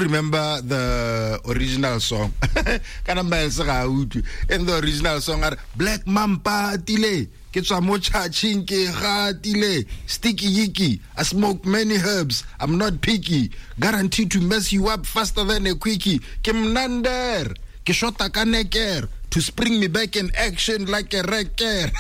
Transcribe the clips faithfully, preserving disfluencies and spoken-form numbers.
Remember the original song. Kana Miles ga a utlwe. In the original song a re Black Mamba tile ke tswa mo chaching ke gatile sticky yicky I smoke many herbs I'm not picky guaranteed to mess you up faster than a quickie ke mnander ke shota ka neker to spring me back in action like a wrecker.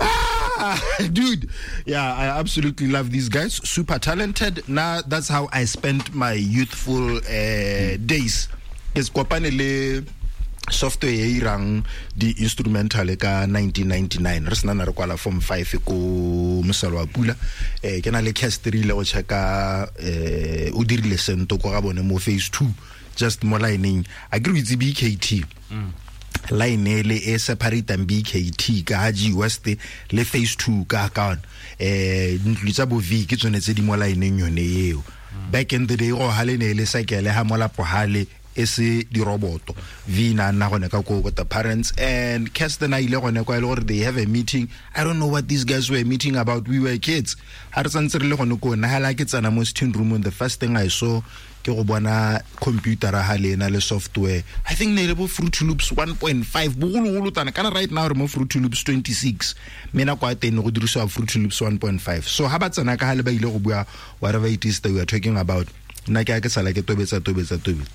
Ah, dude, yeah, I absolutely love these guys. Super talented. Now that's how I spent my youthful uh, days. Ke kopane le software e irang di instrumental ka nineteen ninety-nine re sena re kwala form five ko Mosalo wa Pula eh ke na le castry le go checka eh o dirile sento ko ga bone mo phase two just mo lining a ke re itse B K T mm. Line e le e separate B K T ka G West le phase two ka ka eh ntlo tsa bo V ke tsone tse di mo lineng yone eo. Back in the day go hale ne le sekele ha molapo hale e se di roboto V na nna gone ka ko with the parents and Kirsten a ile gone kwa ile gore they have a meeting. I don't know what these guys were meeting about. We were kids. Ha re santse re le gone ko na hala ke tsena mo sitting room and the first thing I saw ke go bona computer ha le na le software. I think ne le bo Fruity Loops one point five bogologolo tana kana right now re mo Fruity Loops twenty-six mena kwa teng go dirisiwa Fruity Loops one point five. So ha ba tsena ka ha le ba ile go bua whatever it is that we are talking about nna ke a ke sala ke tobetsa tobetsa tobetsa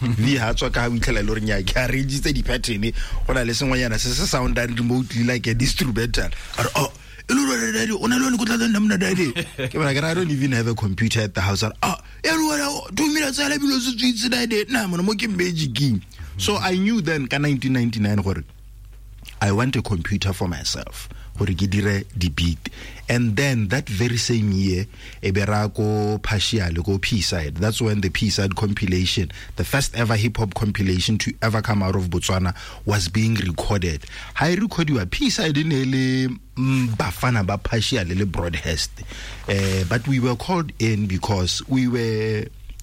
V ha tswa ka ha o itlhela le gore nya ke arrange di pattern go na le sengwenyana se se soundang remotely like a instrumental. Oh, daddy, o na le go tla nna mna daddy. Ke bona ke I don't even have a computer at the house. Ah, two minutes I bilo se tsitse daddy. Na mona mo ke magic. So I knew then ka nineteen ninety-nine gore I want a computer for myself. Gore ke dire di beat. And then that very same year e bera ko partial go P side. That's when the P side compilation, the first ever hip hop compilation to ever come out of Botswana, was being recorded. Ha e recordwa P side ne le bafana ba partial le Broadhurst. Uh, but we were called in because we were